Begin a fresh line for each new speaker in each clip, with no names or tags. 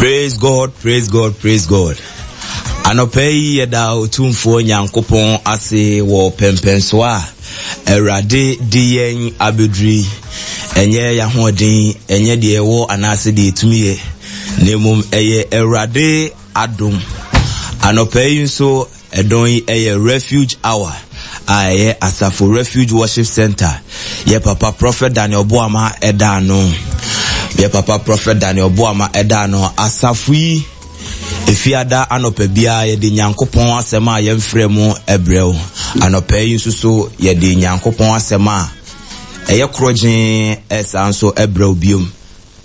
Praise God, praise God, praise God. Anɔpa yi yɛda Otumfoɔ Nyankopɔn ase wɔ pɛmpɛnsoɔ a Awurade de yɛn abɛduru yi. Ɛnyɛ yɛn ahoɔden, ɛnyɛ deɛ ɛwɔ anaasɛ deɛ ɛtumi yɛ, na mmom ɛyɛ Awurade adom. Anɔpa yi nso Ɛdɔn yi yɛ Refuge Hour a ɛyɛ Asafo Refuge Worship Center. Yɛ papa Prophet Daniel Boama ɛda ano. Yɛ papa Prophet Daniel Boama ɛda ano. Asafo yi efiada anɔpa biara yɛde Nyankopɔn asɛm a yɛmfrɛ mu ɛbrɛ wo. Anɔpa yi nso so yɛde Nyankopɔn asɛm a ɛyɛ korɔgyee ɛsan nso ɛbrɛ wo biom.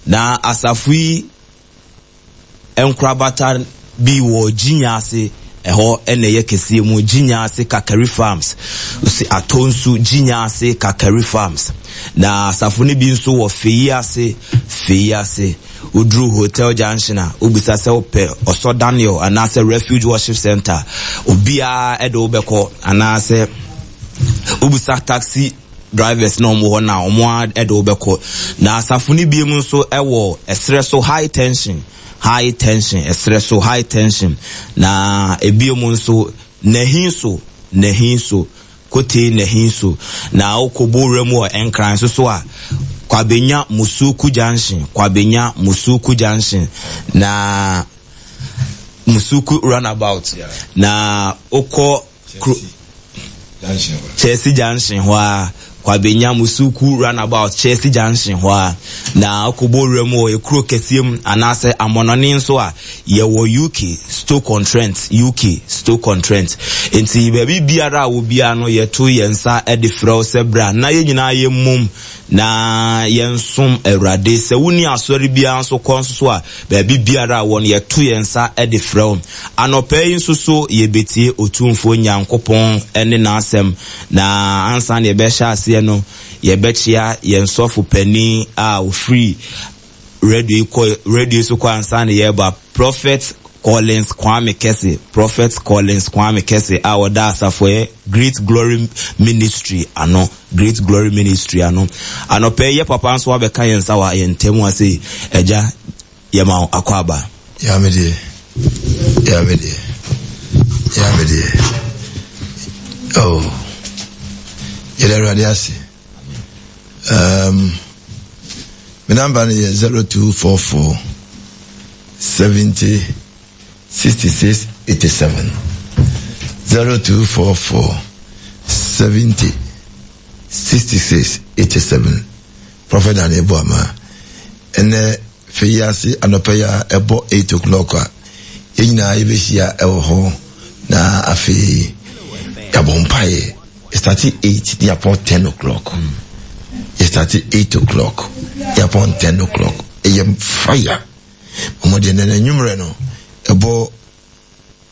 Na asafo yi Nkorabata bi wɔ Gyinya ase, ɛhɔ na ɛyɛ kɛseɛ mu, Gyinya ase Kakari Farms, si Atonsu, Gyinya ase Kakari Farms. Na asafo no bi nso wɔ Feyi ase, Feyi ase. Woduru Hotel Junction a, wobisa sɛ wopɛ Ɔsɔ Daniel anaasɛ Refuge Worship Center, obiara de wo bɛkɔ anaasɛ wobisa taxi drivers na wɔn wɔ hɔ na wɔn ara de wo bɛkɔ. Na asafo no biom nso wɔ ɛserɛ so high tension, high tension, ɛserɛ so high tension. Na ebiom nso Nahin so, Nahin so, Kotei Nahin so. Na wokɔ Bowura mu wɔ Nkran nso so a, Kwabenya Musuku Junction, Kwabenya Musuku Junction. Na Musuku runabout. Na wokɔ kuro Chelsea Junction hɔ a, Kwabenya Musuku runabout Chelsea Junction hɔ a, na wokɔbɔ wura mu wɔ ekuro kɛseɛ mu anaasɛ amɔnɔne nso a, yɛwɔ UK Stoke-on-Trent, UK Stoke-on-Trent. Nti baabi biara a wɔ biara no yɛto yɛn nsa de frɛ wo sɛ bra na yɛn nyinaa yɛmmom na yɛnsom Awurade. Sɛ wonni asɔre biara nso kɔ nso so a, baabi biara a wɔ no yɛto yɛn nsa de frɛ wo. Anɔpa yi nso so yɛbɛtie Otumfoɔ Nyankopɔn ne N'asɛm. Na ansa na yɛbɛhyɛ aseɛ no, yɛbɛkyea yɛn sɔfo panin a ɔfiri radio yi kɔ radio so kɔ ansa na yɛreba, Prophet Collins Kwame Kɛse, Prophet Collins Kwame Kɛse a ɔda asafoɛ Great Glory Ministry ano, Great Glory Ministry ano. Anɔpa yi yɛ papa nso abɛka yɛn nsa wɔ yɛn ntam ase. Agya, Yɛma wo akwaaba.
Yaa me deɛ, yaa me deɛ, yaa me deɛ. Oh, yɛda Awurade ase. Um, me namba no yɛ 0244 70 66 87. 0244 70 66 87. Prophet Daniel Boama. Ɛnɛ Fɛ yi ase anɔpa yi a ɛbɔ 8 o'clock a, yɛn nyinaa yɛbɛhyia ɛwɔ hɔ na afei yɛabɔ mpaeɛ. Yɛstate 8 ne yɛapɔn 10 o'clock. Yɛstate 8 o'clock yɛapɔn 10 o'clock. Ɛyɛ fire. Ɔmo deɛ nɛnɛ anwummerɛ no ɛbɔ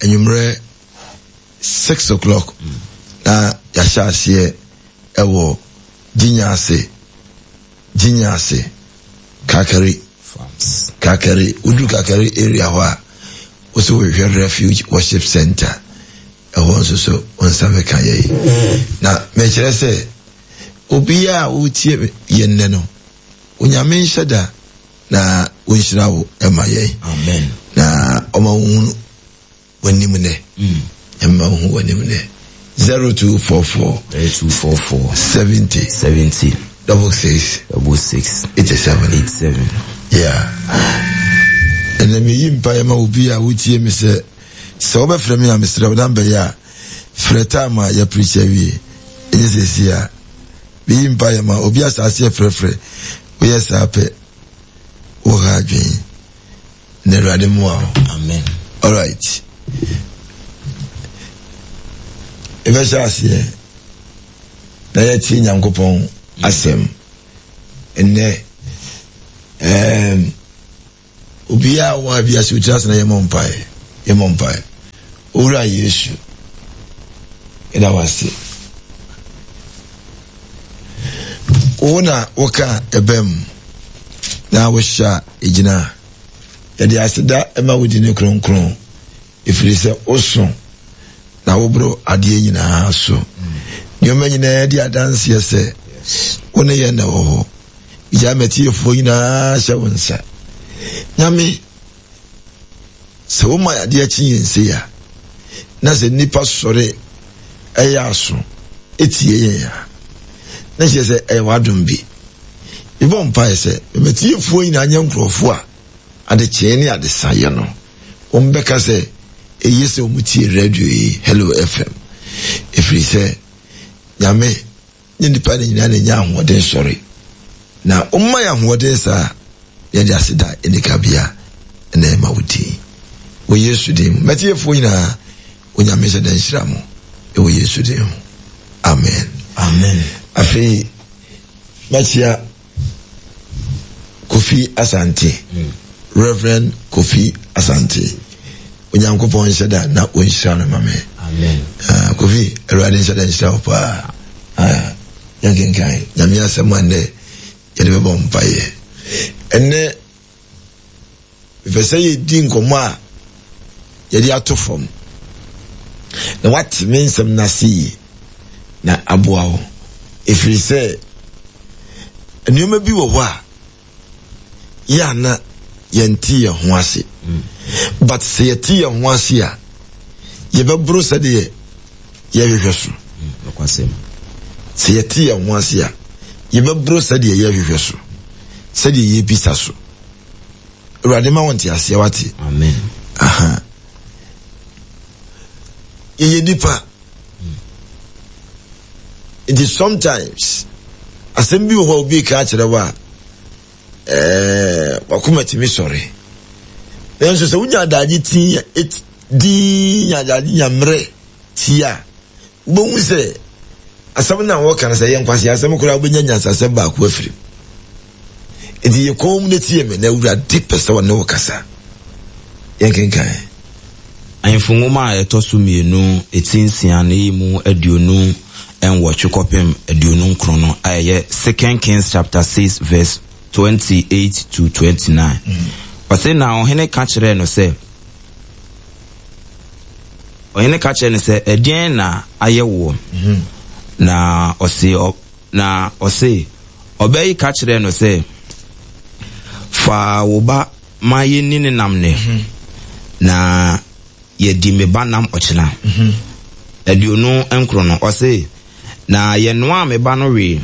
anwummerɛ 6 o'clock na yɛahyɛ aseɛ ɛwɔ Gyinya ase. Gyinya ase, Kakari, Kakari, wodu Kakari area hɔ a, wosɛ wohwehwɛ Refuge Worship Center, ɛhɔ nso so wo nsa bɛka yɛn. Na mekyerɛ sɛ, obiara a wotie yɛn nnɛ no, Onyame nhyɛ da na wonhyira wo ma yɛn.
Amen.
Na ɔma wohunu w'anim nnɛ. Ɛmma wohu w'anim nnɛ. 0244.
0244.
70.
70.
66.
66.
87.
87.
Yeah. Ɛnna meyi mpaeɛ ma obi a wotie me sɛ sɛ wobɛfrɛ me a mesrɛ wo na mbɛyɛ a frɛ time a yɛpreach awie ɛnyɛ sɛsi a meyi mpaeɛ ma obi asase yɛfrɛfrɛ woyɛ saa pɛ woha adwene Na Awurade mmoa wo.
Amen.
Alright. Yɛbɛhyɛ aseɛ na yɛtie Nyankopɔn asɛm. Nnɛ, um, obiara wɔ ha bi ase otiri ase na yɛmmɔ mpaeɛ. Yɛmmɔ mpaeɛ. Owura Yesu, yɛda wo ase. Wo na woka ɛbɛm na wohyɛ a ɛgyina. Yɛde aseda ma wo din kronkron, ɛfiri sɛ woso na woboro adeɛ nyinaa so. Nneɛma nyinaa di adanseɛ sɛ wo ne yɛn na wɔ hɔ. Gyaa matiefoɔ nyinaa hyɛ wo nsa. Nyame, Sɛ woma adeɛ kye yɛn sei a, na sɛ nnipa sɔre ɛyɛ aso tie yɛn a, na kyerɛ sɛ ɛyɛ w'adom bi. Mebɔ mpaeɛ sɛ mmatiefoɔ nyinaa nyɛ nkurɔfoɔ a adekyee ne adesaeɛ no wɔbɛka sɛ eye sɛ wɔtie radio yi, Hello FM, ɛfiri sɛ Nyame ne nnipa no nyinaa na ɛnya ahoɔden sɔre. Na woma yɛ ahoɔden saa a, yɛde aseda a ɛnni kabea na ɛma wo din. Wɔ Yesu din mu. Matiefoɔ nyinaa, Onyame nhyɛ da nhyira mo wɔ Yesu din ho. Amen.
Amen.
Afei, mɛkyea Kofi Asante, mm. Reverend Kofi Asante. Onyankopɔn nhyɛ da na ɔnhyira no ma me.
Amen.
Uh, Kofi, Awurade nhyɛ da nhyira wo paa. Uh, yɛnkenkan Nyame asɛm a nnɛ yɛde bɛbɔ mpaeɛ. Ɛnnɛ, mepɛ sɛ yɛdi nkɔmmɔ a yɛde ato fam na wate me nsɛm no ase yie na aboa wo ɛfiri sɛ nneɛma bi wɔ hɔ a yɛ a na yɛnte yɛn ho ase but sɛ yɛte yɛn ho ase a yɛbɛboro sɛdeɛ yɛhwehwɛ so sɛ yɛte yɛn ho ase a yɛbɛboro sɛdeɛ yɛhwehwɛ so sɛdeɛ yɛbisa so Awurade ma wo nteaseɛ wate.
Amen.
Aha. Yɛyɛ nipa. Nti sometimes asɛm bi wɔ hɔ a obi ka akyerɛ wo a ɛɛ wakoma tumi sɔre. Nanso sɛ wonya adagye ti din nya adagye nya mmerɛ tie a Wobɛhu sɛ asɛm no a wɔka no sɛ ɛyɛ nkwaseasɛm koraa wobɛnya nyansasɛm baako afiri mu. Enti yɛ komm na tie me na Awurade pɛ sɛ ɔne wo kasa. Yɛnkenkan.
Ahemfo Nwoma a ɛtɔ so mmienu ti nsia no yi mu 28 kɔpem 29 no a ɛyɛ Second Kings chapter 6 verse 28 to 29. Ɔse na ɔhene ka kyerɛɛ no sɛ, Ɔhene ka kyerɛɛ no sɛ, Ɛdeɛn na ayɛ woɔ? Na ɔse, na ɔse, ɔbaa yi ka kyerɛɛ no sɛ, Fa wo ba ma yɛnni ne nam nnɛ, na yɛadi me ba nam ɔkyena. 29 no, ɔse, Na yɛnoaa me ba no wee,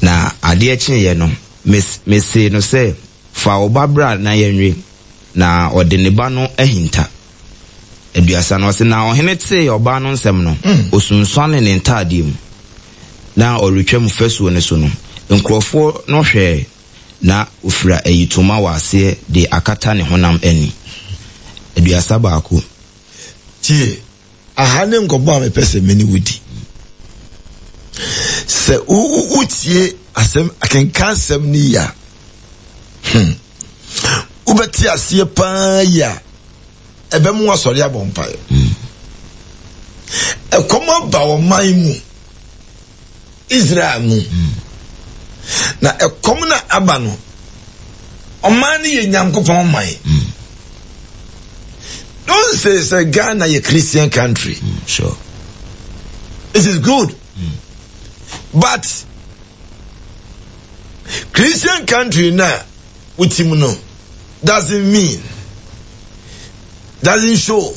na adeɛ kyeeɛ no, mesee no sɛ, Fa wo ba bra na yɛnwe. Na ɔde ne ba no ahinta. 30 no, ɔse, Na ɔhene tee ɔbaa no nsɛm no, ɔsunsuanee ne ntaadeɛ mu, na ɔretwam fasuo no so no, nkurɔfoɔ no hwɛɛ, na ɔfira ayitoma wɔ aseɛ de akata ne honam ani. 31.
Tie, Aha ne nkɔmmɔ a mepɛ sɛ me ne wo di. Sɛ wotie asɛm akenkan asɛm no yi a, hmm, wobɛte aseɛ paa yi a ɛbɛmo asɔre abɔ mpaeɛ. Hmm. Ɛkɔm aba ɔman mu, Israel mu. Hmm. Na ɛkɔm na aba no, ɔman no yɛ Nyankopɔn man. Mm. Don't say say Ghana yɛ Christian country.
Mm, sure.
It is good. Mm. But Christian country na wotim no doesn't mean doesn't show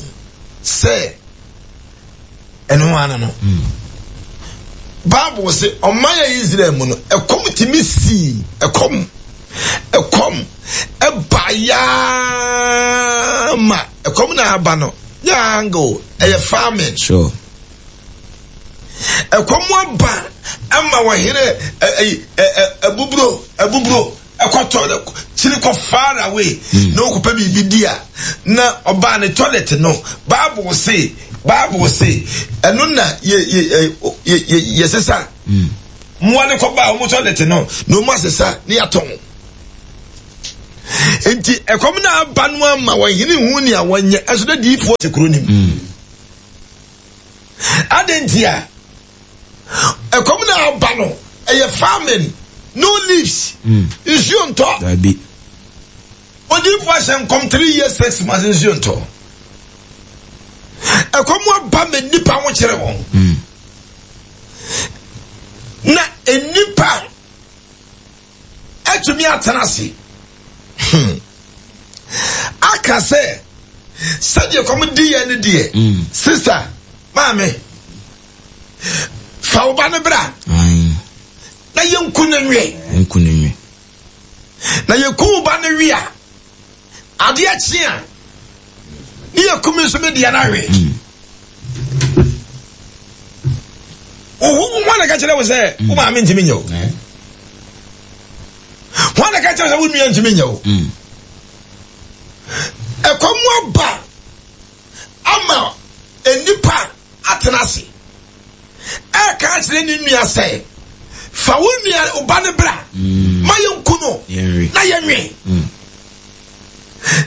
say ɛno ara no bible sɛ ɔman yɛ israel mu no ɛkɔm tumi sii ɛkɔm ɛkɔm ɛba yaa ma ɛkɔm na aba no nyɛ angle ɛyɛ farming
sure.
ɛkɔm aba ama wɔhene ɛbuburo ɛbuburo ɛkɔtɔ no kyiri kɔ far away hmm. na ɔkɔpɛ biribi di a na ɔbaa ne toilet no bible se bible se ɛno na yɛ yɛ yɛ yɛ yɛsesa hmm. mmoa no kɔbaa wɔn toilet no na wɔn asesa ne yɛatɔn nti ɛkɔm na aba no ama wɔn hene hu nea wɔnyɛ ɛso dɛ diifoɔ te kuro nim hmm. adɛn nti a Ɛkɔm na aba no, ɛyɛ famine, no leaves, mm. nsuo ntɔ.
Dabi.
Odiifo ahyɛ nkɔm three years six months nsuo ntɔ. Ɛkɔm aba ma nnipa ho kyerɛ wɔn.
Mm.
Na nnipa atumi atena ase. Hmm. Aka aka sɛ sɛdeɛ kɔm di yɛn no deɛ mm. sister maame fa wo ba no bra na yɛnku no nwe
nku no nwe
na yɛku wo ba no we a adeɛ kye a ne yɛku me nso me deɛ no awe mm. Wo na ka kyerɛ wo sɛ wo maame ntumi nyɛ wo. Wɔn na ka kyerɛ sɛ wo nua ntumi nyɛ wo. Mm. Ɛkɔm aba ama nnipa atena ase. Ɛka akyerɛ ne nua sɛ fa wo nua wo ba no bra mm. ma yɛnku no na yɛnwe. Mm.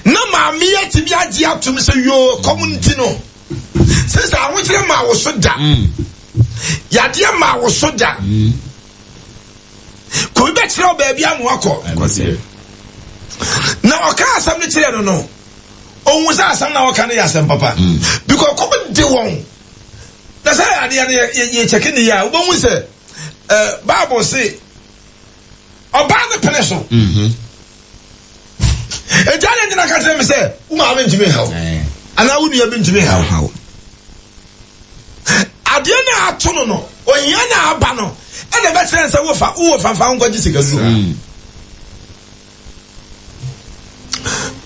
Na maame yi atumi agye atom sɛ yoo kɔm nti no sɛ ahokyerɛ maa wo so da. Yadeɛ maa wo so da. Kobi bɛkyerɛ wo baabi ama wakɔ. Na ɔka asɛm no kyerɛ no no, ohun sɛ asɛm na ɔka no yɛ asɛm papa. Mm. Because kɔm de wɔn. Na sɛ adeɛ no yɛ kyɛke ne yɛ a, wobɛhu sɛ eh, Bible se ɔbaa no pene so. Mm-hmm. Ɛgya ne ntina ka kyerɛ me sɛ wo maame ntumi nhaw anaa wo nua bi ntumi nhaw. Adeɛ no a ato no no, ohia no a aba no, ɛna ɛbɛkyerɛ no sɛ wofa wowɔ fanfa wo nkɔgye sika duro. Mm.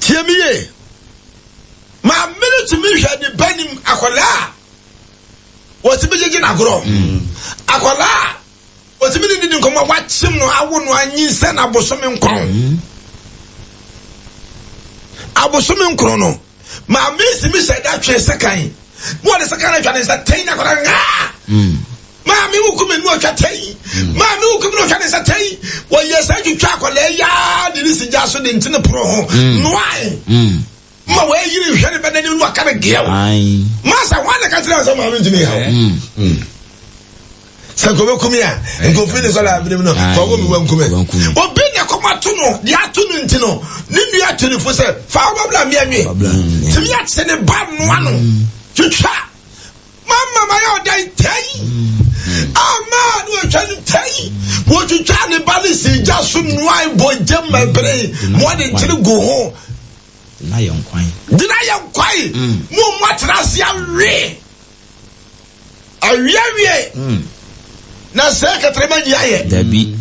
Tie me yie. Maame no tumi hwɛ ne ba nim akwadaa a wɔtumi gyegye n'agorɔ. Mm. Akwadaa a Otumi ne didi nkɔmmɔ a wakyem no awo no anyinsɛn abosome nkron. Mm. Abosome nkron no, maame si mi hyɛ da twe sekan. Na wɔde sekan no atwa ne nsa tɛn na akwadaa ngaa. Mm. Maame wo kumi no atwa tɛn. Mm. Maame wo kumi no atwa ne nsa tɛn. Wɔyɛ sɛ twitwa akwadaa yaa de ne si gya so de ntene pono ho. Noae. Ma wɔayiri nhwɛ ne bɛ n'anim na waka no geɛw. Masa hwan na ka kyerɛ sɛ maame ntumi ha wo? Sɛ nka ɔbɛkum a nka ofiri ne sɔrɔ abiri mu no kɔkɔ mi wankum ɛ. Obi na kɔm ato no deɛ ato no nti no ne nua ato ne fo sɛ fa wo babla mmea nwe. Tumi akye ne ba noa no twitwa mama ma yɛ ɔdan tɛyi ama ne wɔtwa no tɛyi wɔtwitwa ne ba ne si gya so noa bɔ gyam ma bere ma ɔde nkyene gu ho.
Gyina yɛ nkwan.
Gyina yɛ nkwan. Mm. Mo mu atena ase awe. Awiawie. Mm. Na sɛ kɛtɛrɛma nyi ayɛ.
Dabi.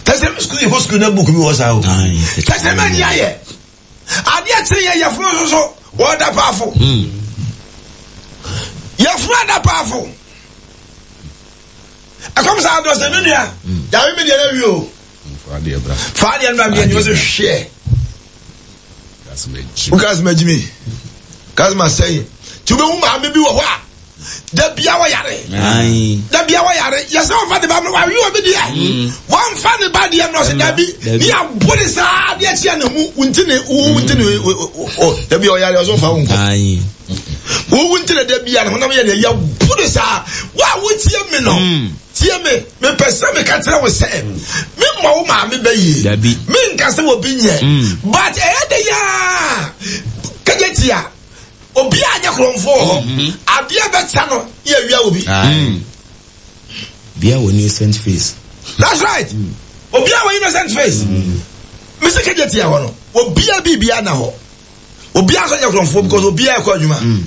Tɛsɛ sukuu yɛ kɔ sukuu na buku bi wɔ saa o. Tɛsɛrɛma nyi ayɛ. Adeɛ kyerɛ yɛ yɛfunu nso so wɔda paafo. Mm. Yɛfunu ada paafo. Ɛkɔm saa dɔ sɛ me nua. Yàrá mi deɛ na wi o. Fa adeɛ no bra meɛ nyɛ sɛ hwɛ. Woka sɛ magyi me. Ka sɛ masɛe. Nti wobɛhu maame bi wɔ hɔ a da bia wɔyare. Da bia wɔyare. Yɛ sɛ wɔmfa ne ba no wawe obi deɛ. Mm. Wɔmfa ne ba deɛ no ɔsɛ dabi. Ne yɛabo ne saa adeɛ kyea ne ho nti ne wo nti ne da bia ɔyare ɔsɛ ɔfa wo nkɔ. Wo nti ne da bia ne honam yɛ deɛ yɛbo ne saa. Wo a wotie me no. Mm. Tie me, mepɛ sɛ meka kyerɛ wo sɛ, memmɔ wo maame bɛ yie.
Dabi.
Menka sɛ obi nyɛ. Mm. But ɛyɛ de yaa kɛnyɛ tia. Obi a nyɛ korɔmfoɔ wɔ hɔ. Mm-hmm. Adeɛ bɛkyɛ no yɛ awia obi.
Mm. Bia wɔ innocent face.
That's right. Mm. Obi a wɔ innocent face. Mm. Mesi kɛnyɛ tia hɔ no. Obi a biribi ana hɔ. Obi a nso nyɛ korɔmfoɔ because obi a ɛkɔ adwuma. Mm.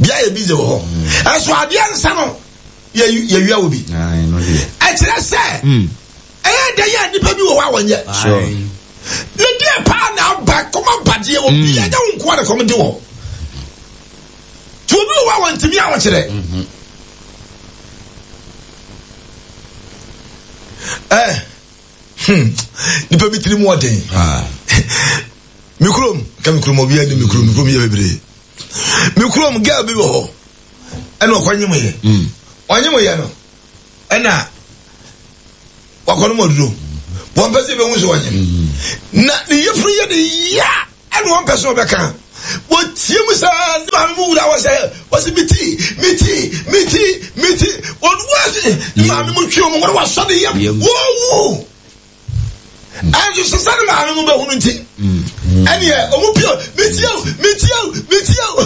Bia yɛ busy wɔ hɔ. Ɛso adeɛ nsa no. yɛwia wɔ bi ɛkyerɛ sɛ hmm. ɛyɛ dɛ yɛ nnipa bi wɔ hɔ a wɔnyɛ ne deɛ paa na aba kɔm abadeɛ wɔ bi hmm. ɛnyɛ wo nkoa na kɔm de wɔ nti obi wɔ hɔ a wɔntumi ahokyerɛ mhm. eh, hmm, nipa bi tiri mu ɔden ah. me kurom ka me kurom obi ani me kurom me kurom yɛ bebree me kurom girl bi wɔ hɔ ɛna ɔkɔ nyem yɛ mm. ɔnyem yɛ no ɛna wakɔ no mu aduro wɔn pɛ sɛ ebehu sɛ ɔnyem mm. na ne yɛfunu yɛ ne ya ɛna wɔn pɛ sɛ ɔbɛka wɔtie mu saa ne maame mu wura wɔ sɛ wɔsi mi ti mi ti mi ti mi ti wɔn wɔsi ne maame mu twi wɔn wɔn wɔsɔ ne yam wɔwu. Ɛnso sɛ sɛ ne maame mo bɛhunu nti ɛneɛ ɔmo pio metie o metie o metie o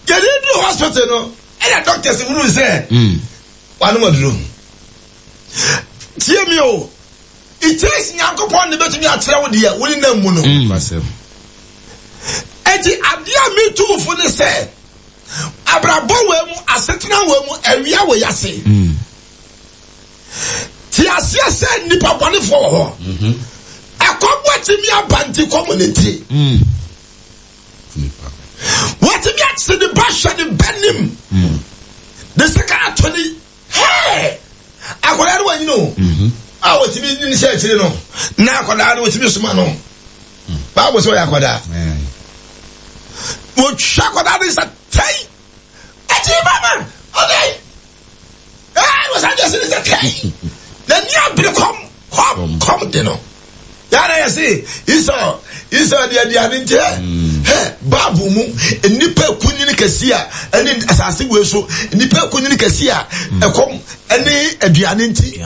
yɛde duru hospital no ɛna doctors hunu sɛ wanom aduro tie mi o. It takes Nyankopɔn na ebetumi akyerɛ wo deɛ wo nenam mu no. Eti adeɛ a metu wo fo ne sɛ, abrabɔ wei mu, asetena wei mu, awia wei ase. Te aseɛ sɛ nnipa bɔnefoɔ wɔ hɔ. Ɛkɔm watumi aba nti kɔm ne nti. Watumi akye ne ba hwɛ ne ba nim. De sika ato ne hɛɛ akwadaa no wanyini o. A wɔtumi ne hyɛ akyire no na akwadaa no wɔtumi soma no. Baabu sɛ ɔyɛ akwadaa. Wɔtwa akwadaa no nsa tɛn. Akyi mama ɔdɛn. Ɛɛ wɔsan de ɛsi ne sɛ tɛn. N'ani abere kɔm kɔm kɔm de no. Yàrá yɛ se Esau Esau de aduane nti hɛ hɛ baabu mu nnipa ekunyini kɛse a ɛne asase wei so nnipa ekunyini kɛse a ɛkɔm ɛne aduane nti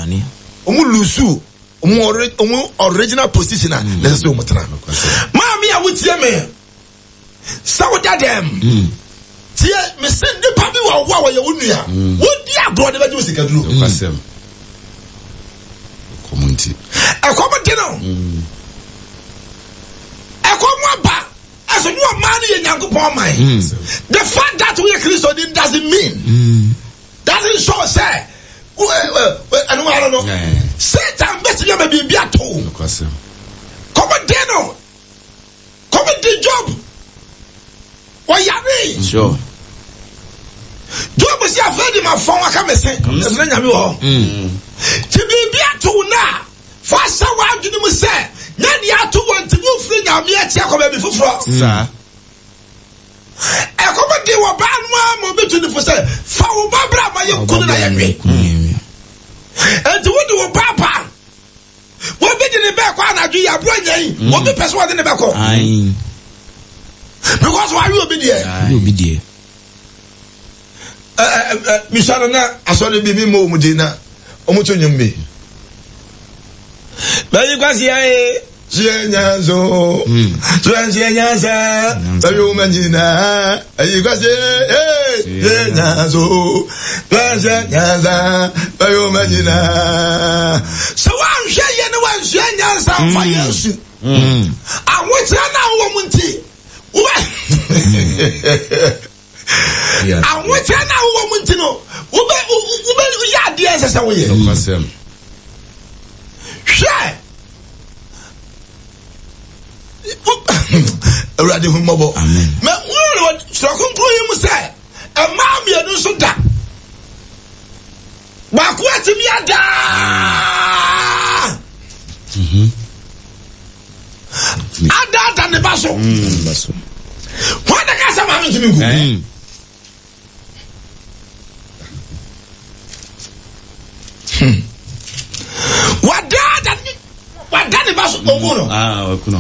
wɔn lusu wɔn original position a na ɛsɛ sɛ wɔn tena. Maame a wotie me. Sɛ woda dɛm. Mm. Tie, mese nnipa bi wɔ hɔ a wɔyɛ wo nua. Mm. Wodi agorɔ de bɛgye wo sikaduro.
Nokwasɛm. Ɛkɔm nti.
Ɛkɔm de no. Mm. Ɛkɔm aba. Ɛso ne ɔman no yɛ Nyankopɔn man. Mm. The fact that woyɛ Kristoni doesn't mean. Mm. Doesn't show sɛ ɛno ara no. Satan bɛtumi ama biribi ato.
Nokwasɛm.
Kɔm de no. Kɔm de Job. Ɔyaree.
Sure.
Job si afei de ma fɔn aka me se. Ɛsɛ na nyame wɔ hɔ. Ti biribi ato wo na fa hyɛ w'adwene mu sɛ nyɛ deɛ ato wɔ nti wofiri nyame akyi akɔ baabi foforɔ.
Saa.
Ɛkɔm de wɔ baa no ara ma obi tu ne fo sɛ fa wo ba bra ma yɛ kunu na yɛnwe. Enti wode wo ba ba Obi de ne bɛɛ kɔ anadwo yi aburo nya yi. Mm. Obi pɛ sɛ ɔde ne bɛkɔ. Because wawe obi deɛ.
Wawe obi deɛ.
Misa no na asɔre bi mi mmɔ wɔn din na wɔn to nnwom bi. Bɛyi kwasi ayé sua nyanso sua sua nyansa bɛyi wɔn nyinaa bɛyi kwasi ee sua nyanso sua sua nyansa bɛyi wɔn nyinaa. Sɛ woanhwɛ yie ne woansua nyansa mfa mm. Yesu mm. ahokyerɛ no a wowɔ mu nti wobɛ ahokyerɛ no a wowɔ mu nti no wobɛ wobɛ yɛ adeɛ ɛsɛ sɛ woyɛ. Hwɛ Awurade hu mmɔbɔ. Mɛ wúlò wɔ kronkron yi mu sɛ mmaa mmienu nso da. Baako atumi adaa. Adaada ne ba so. Wɔn na kasa maame ntumi nku. Hmm. Wadaada ne wada ne ba so ogu no.
Ah, waku no.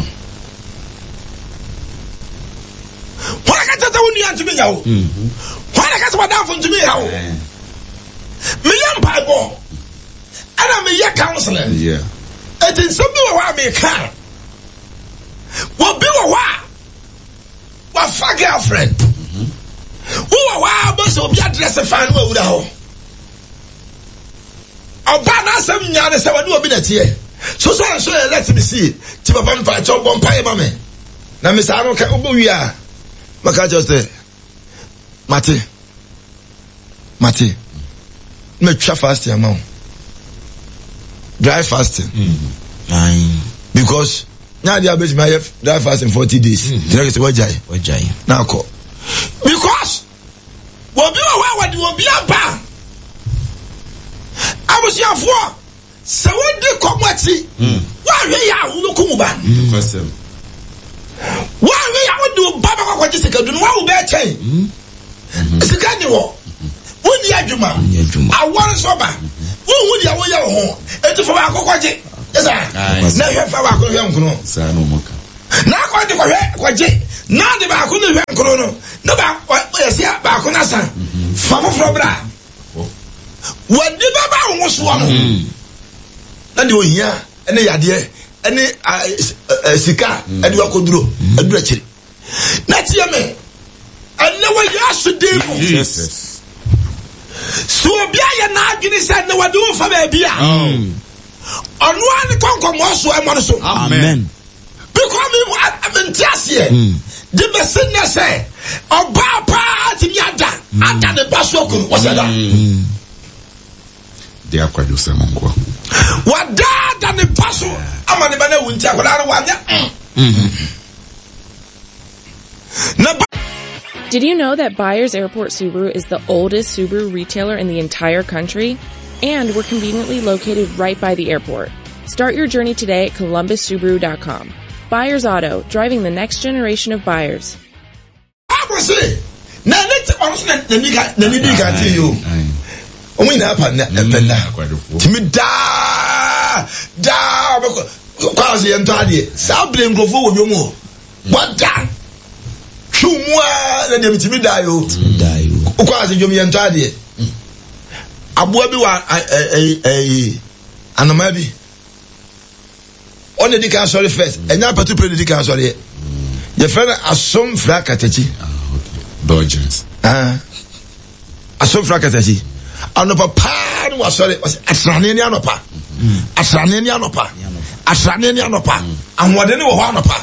Wɔn na kasa sɛ wo nua ntumi nya wo. Wɔn na kasa wadamfo ntumi nya wo. Meyɛ mpaebɔ ɛna meyɛ counseling. Eti nsɛm bi wɔ hɔ a meka. Obi wɔ hɔ a wafa girlfriend. Wowɔ hɔ a bɛ sɛ obi adrɛse fan no wawura hɔ. Ɔbaa n'asɛm nyaa ne sɛ wɔne obi na ɛteɛ. So so nso yɛ let me see. Ti papa mpa kyɛw bɔ mpa yɛ ma me. Na me saa no ka wobɔ wie a maka kyerɛ sɛ mate mate matwa fasting ama wo dry fasting mm. because nyɛ adeɛ a bɛtumi ayɛ dry fasting 40 days kyerɛ sɛ wagyae na akɔ because obi wɔ hɔ a wɔde obi aba abusuafoɔ Sɛ wodi kɔm akyi, woanhwɛ yɛ a wobɛkum wo ba. Woanhwɛ yɛ a wode wo ba bɛkɔ akɔgye sikadu no, woawo bɛɛ kyɛn. Sika ni hɔ, wonni adwuma, awɔ nso ba, wonhu deɛ woyɛ wo ho, enti fa baako kɔgye. Ɛsa na hwɛ fa baako hwɛ nkono. Na akɔ de kɔhwɛ kɔgye na de baako no hwɛ nkono no na baako yɛsi baako no asa fa foforɔ bra. W'ani bɛba wo ho soɔ no, mm. na deɛ ohia ne yadeɛ ne sika ɛde wakɔduro mm. aduru akyiri. Na tie me, ɛnɛ wɔ Yesu din mu. Sɛ obi ayɛ n'adwene sɛ ɛnɛ wɔde wo fa baabi a, mm. Ɔno ara ne kɔnkɔmɔ so ɛmɔ no so.
Amen.
Because mi nti aseɛ. De bɛsi nnɛ sɛ ɔbaa paa tumi ada ada ne ba so akunu wɔsɛ da.
De akwadwo sɛm nkoa.
Wadaada ne ba so ama ne ba no awu nti akwadaa no wanyɛ. Na ba.
Did you know that Byers Airport Subaru is the oldest Subaru retailer in the entire country? And we're conveniently located right by the airport. Start your journey today at columbussubaru.com. Byers Auto, driving the next generation of buyers.
Bible se, na ne te ɔno so na n'ani ka n'ani di ka te yi o. Wɔn nyinaa pa nna ɛpɛ nna. Tumi daa daa ɔbɛkɔ kwan so yɛn tɔ adeɛ. Saa bere nkurɔfoɔ wɔ dwom hɔ. Wada twiw mu a na deɛ metumi daa yi o. Kwan so dwom yɛn tɔ adeɛ. Aboa bi wɔ ɛyi anomaa bi. Ɔna di kan sɔre first. Ɛnyɛ apɛto pere na di kan sɔre yɛ. Yɛfrɛ no asomfra katakyi.
Dodgers.
Ah. Asomfra katakyi. Anɔpa paa no wasɔre. Ɔsɛ asrane ne anɔpa. Asrane ne anɔpa. Asrane ne anɔpa. Ahoɔden wɔ hɔ anɔpa.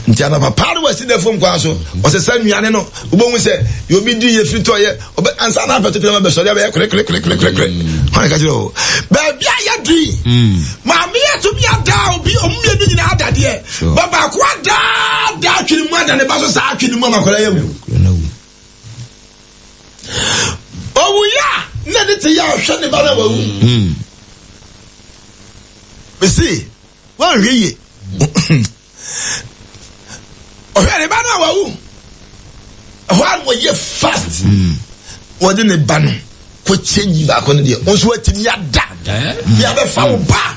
Nti anɔpa paa no wasi da fam kwan so. Ɔsesa nnuane no. Wobɛhu sɛ deɛ obi di yɛ firi tɔ yɛ. Ɔbɛ ansa na apɛto pere ma bɛsɔre abɛyɛ kore kore kore kore kore kore. Hɔn ka kyerɛ o. Baabi a yɛdu yi. Maame yɛ tumi ada obi ɔmo mmienu nyinaa adadeɛ. Ba baako ada da atwene mu ada ne ba so saa atwene mu ama akwadaa yɛ wu. Owu yɛ a na ne te yɛ ɔhwɛ ne ba na wawu. Mesi wanhwɛ yie. Ɔhwɛ ne ba no a wawu. Ɛhɔ a wɔyɛ fast. Wɔde ne ba no kɔ change baako no deɛ nso watumi ada. Deɛ abɛfa wo ba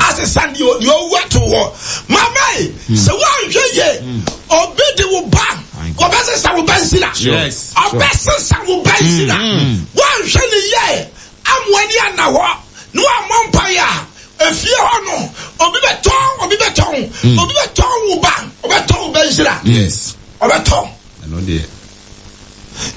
asesa deɛ deɛ ɔwu ato hɔ. Mama yi sɛ wanhwɛ yie obi de wo ba ɔbɛsesa wo ba nsira. Ɔbɛsesa wo ba nsira. Wanhwɛ ne yie amoa ni ana hɔ na wammɔ mpaeɛ a efie hɔ no obi bɛtɔn obi bɛtɔn mm. obi bɛtɔn wo ba ɔbɛtɔn wo ba nhyira ɔbɛtɔn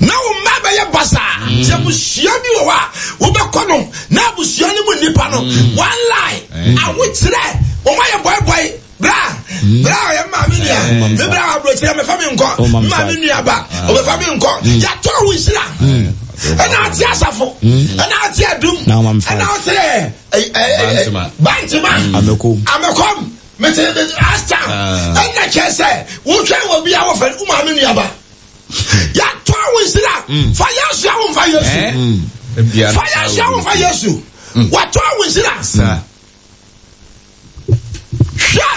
na wo mma bɛyɛ basaa mm. sɛ abusua bi wɔ hɔ a wobɛkɔ no na abusua no mu nnipa no mm. one lie eh. awokyerɛ wɔn ayɛ bɔebɔe bra hmm. bra ɔyɛ maame nua eh. me bra aburokyerɛ mɛfa mi nkɔ maame nua ba ah. ɔbɛfa mi nkɔ hmm. yàtɔ wo nhyira hmm. ɛna ate asafo ɛna ate adum ɛna ate bantama amɛkɔm mete mete asta ah. ɛna kyerɛ sɛ wohwɛ wɔ bi a wɔfɛ wo maame nua ba yàtɔ wo nhyira fa yesu awo nfa yesu eh? fa yesu awo nfa yesu wɔtɔ wo nhyira. Hwɛ,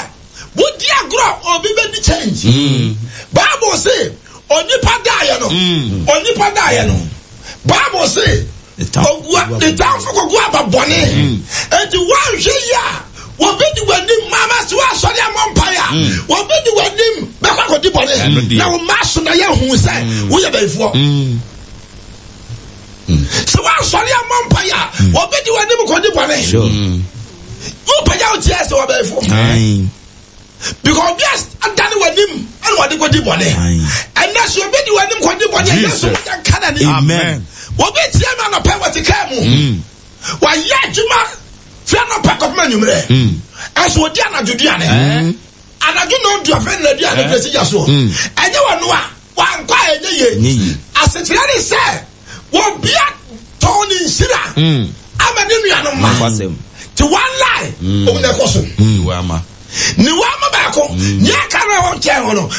wodi agorɔ obi bɛdi change. Mm. Bible se onipa daeɛ no, mm. onipa daeɛ no. Bible se ogua ne tamfo kɔgu aba bɔne. Mm. Enti woanhwɛ yi a wɔbɛdi w'anim mama sɛ woasɔre ammɔ mpaeɛ a wɔbɛdi w'anim bɛkɔ akɔdi bɔne na wo mma so na yɛhu sɛ woyɛ bayifoɔ. Sɛ woansɔre ammɔ mpaeɛ a wɔbɛdi w'anim kɔdi bɔne. Wopagya wo tiɛ sɛ wɔbɛyifo. Because obi adane w'anim ɛna wɔde kɔdi bɔne. Ɛnɛ sɛ obi di w'anim kɔdi bɔne a Yesu mogya nka n'anim.
Amen.
Obi tie me anɔpɛ wɔte kaa mu. Wayɛ adwuma firi anɔpa kɔpem anwummerɛ. Ɛnso ɔdi anadwo duane. Anadwo nɔndu afei na aduane pɛ si gya soɔ. Ɛnyɛ wɔno a wankɔ a ɛnyɛ yie. Asekyerɛ ne sɛ wɔbia tɔn ne nhyira mm. ama ne nuanom ma te one lie mm. ɔmu na ɛkɔ so mm. ne wama baako nea aka no a wɔnkyɛn ho no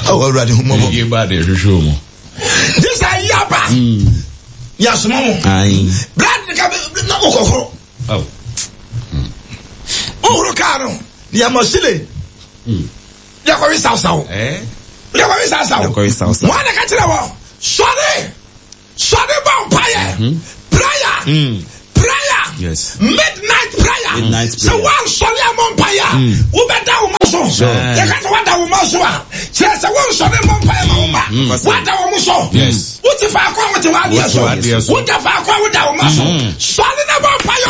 ɔwɔ awurade ho mmɔbɔ gye sɛ ayi aba yɛasoma mo brad ne ka na wokɔhoro wohoro kaa no ne yɛma sile yɛkɔwe sawsaw yɛkɔwe sawsaw wɔn na ka kyerɛ wɔn sɔre sɔre bɔ mpaeɛ mhm. prayer mm. prayer yes. Midnight prayer sɛ wɔnsɔre amɔ mpaeɛ a mm. wobɛda wo ma so yɛka sɛ woada wo ma so a kyerɛ sɛ wonsɔre mmɔ mpaeɛ ma wo ma mm. woada wo mo so wote faako a wote w'adeɛ so woda faako a woda wo ma so sɔre na bɔ mpaeɛ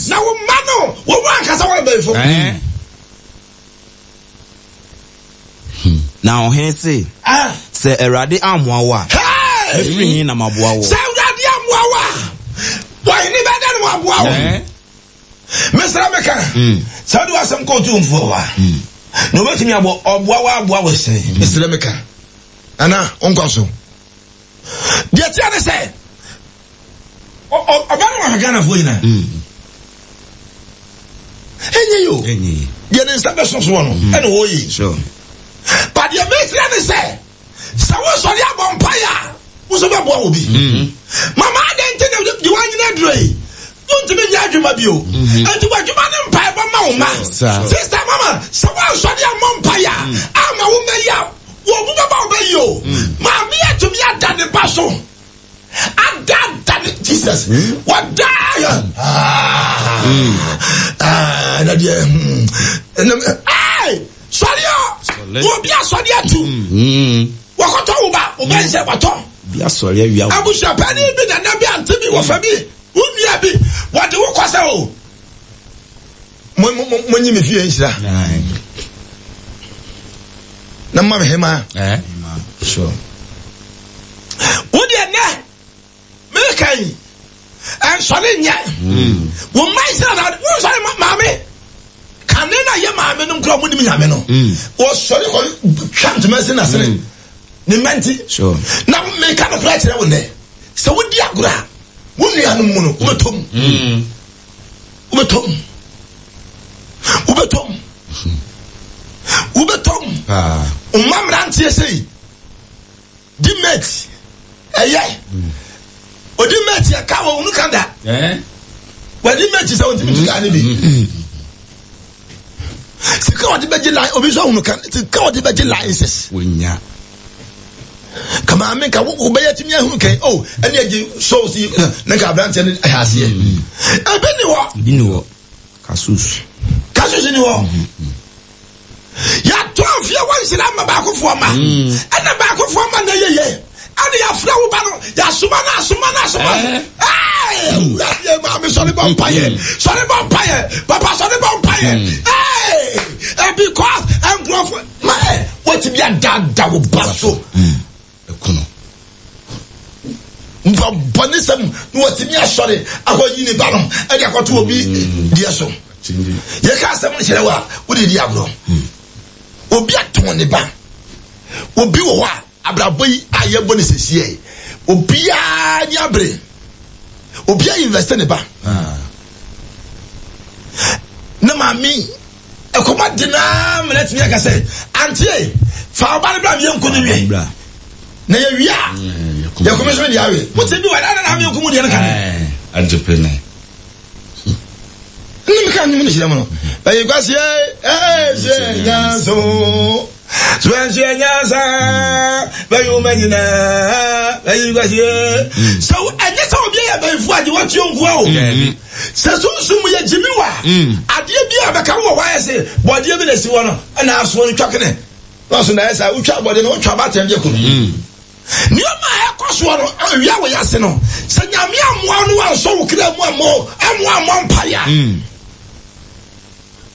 na wo ma no wo mu ankasa wɔn bɛyifo
eh. Na ɔhene se, Sɛ Awurade ammoa wo a, mɛfiri he na maboa wo?
Sɛ Awurade ammoa wo a, Wahene bɛda no waboa wo. Mesrɛ meka sɛ wode w'asɛm kɔ otumfoɔ hɔ a, na obɛtumi abɔ ɔboa wo aboa wo sɛn. Mesrɛ meka ana wonkɔ so. Deɛ tia ne sɛ ɔba no wahwɛ Ghanafoɔ nyinaa. Ɛnyɛ yi o. Deɛ ne nsa bɛso soɔ no ɛna ɔyɛ. But deɛ mesrɛ ne sɛ sɛ wosɔre abɔ mpaeɛ a wo nso bɛboa wɔ bi. Mama adɛn nti na deɛ woanyina aduro yi wontumi nyɛ adwuma bio? Nti w'adwuma ne mpaebɔ ma wo ma. Sista mama sɛ woansɔre ammɔ mpaeɛ a ama wo mma yi a wɔn mu bɛba wo bɛyi o. Maame atumi ada ne ba so adada ne Jesus wɔdaa yɛ ɛna deɛ ɛnam ɛɛ sɔre o obi asɔre atu wɔkɔtɔ wo ba wo bɛn sɛ wɔtɔ abusuapɛni bi nana bi ante bi wɔfɛ bi wo nua bi wɔde wo kɔ sɛ o mo nyi me fie nhyira na mma me hema wo deɛ nɛ meka yi ɛnsɔre nyɛ wo mma nhyira na wonsɔre maame kane na yɛ maame no nkura ɔmo nim nyame no wɔsɔre kɔ twa ntoma si n'asene ne mma nti na meka no kora kyerɛ wo nɛ sɛ wodi agorɔ a wo nuanom mu no wobɛtɔ mu wobɛtɔ mu wobɛtɔ mu wobɛtɔ mu mma mmeranteɛ sei di mate ɛyɛ odi mate yɛ ka wɔ wunu ka da wadi mate sɛ wɔntumi tu kaa ne bi sika wɔde bɛgye line obi nso ahunu ka sika wɔde bɛgye licenses
wonya
ka maame nka wobɛyɛ tumi ahunu kɛn o oh, ɛne agye sɔɔ si ne nka aberanteɛ no ɛyɛ aseɛ ebi ni hɔ
ebi ni hɔ kasus
kasus ni hɔ Yɛatɔ afie wɔ nhyira ma baakofoɔ ma. Mm. Ɛna baakofoɔ ma na yɛyɛ. Ɛna yɛafrɛ wo ba no, yɛasoma no asoma no asoma no. Awurade maame sɔre bɔ mpaeɛ. Mm. Sɔre bɔ mpaeɛ. Papa sɔre bɔ mpaeɛ. Mm. Because nkurɔfoɔ ma ɛ wɔtumi adaadaa wo ba so.
Ɛkono.
Nipa bɔnesɛm na wɔtumi asɔre akɔyi ne ba no ɛde akɔto obi deɛ so. Yɛka asɛm no kyerɛ wo a wode di agorɔ. Obi atɔn ne ba. Obi wɔ hɔ a abrabɔ yi a yɛbɔ ne sɛsiɛ yi obiara ni abere. Obiara investe ne ba. Na maame ɛkɔm ade no ara ma no atumi aka sɛ antie fa ɔba no bra meyɛ nko no wie na yɛwie a yɛkɔmi so deɛ awe wote bi wɔ ɛna na meyɛ nko mu deɛ no ka ne
agye pene
ne meka nwom no hyerɛ mu no bɛyɛ kwaseɛ ɛhyɛ nyanso suanhyɛ nyansa bɛyɛ woma nyinaa bɛyɛ kwaseɛ sɛ ɛnyɛ sɛ obi yɛ bɛyifoɔ agye wɔtuo nkoa o Sɛ sunsum mu yɛ gyimi wa adeɛ bi a bɛka wɔ hɔ ayɛ se bɔdeɛ bi na esi hɔ no ɛna asoɔ no twa kene na ɔso na ayɛ saa wotwa bɔdeɛ no wotwa abaatan bi akunu mm. nneɛma a ɛkɔ soɔ no awia wɔ yɛase no sɛ nyame amoa no wansɔ wo kra mu ammɔ amoa ammɔ mpaeɛ a mm.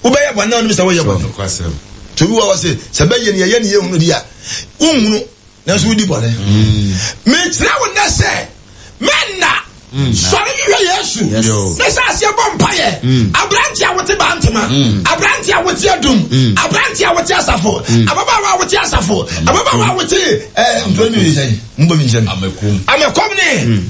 wobɛyɛ bɔne na wonim sɛ woyɛ bɔne nti obi wɔ hɔ se sɛ bɛyɛ ne yɛyɛ ne yɛhunu di a wonhunu nanso wodi bɔne. Mekyerɛ wo nnɛ sɛ mɛnna sɔre hwehwɛ Yesu na hyɛ aseɛ bɔ mpaeɛ. Aberante a wote Bantama, aberante a wote Adum, aberante a wote Asafo, ababaawa a wote Asafo, ababaawa a wote ɛɛ nkuro mi sɛn, mbɔ mi nkyɛn. Amɛkɔm ne.